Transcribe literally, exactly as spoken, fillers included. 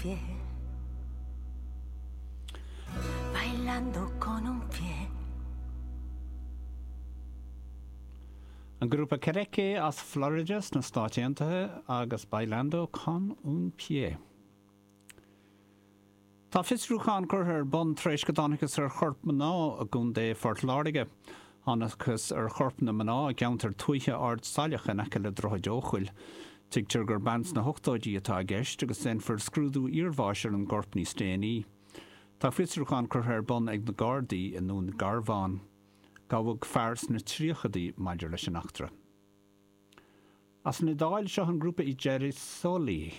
Pie. Bailando con un pie. An grúpa Kereké as Florida sna Stáit Aontaithe agus Bailando con un pie. Tá fiosrúchán curtha ar bun tar éis go dtángthas ar chorp mná i gContae Phort Láirge. Thángthas ar chorp na mná i gceantar tuaithe Ard Saileach in aice le Droichead Eochaill. Tuigtear gur bean sna hochtóidí atá i gceist agus déanfar scrúdú iarbháis ar an gcorp níos déanaí. Tá fiosrúchán curtha ar bun ag na Gardaí i nDún Garbhán. Gabhadh fear sna tríochaidí maidir leis an eachtra. As an Iodáil seo an grúpa I Gerisoli.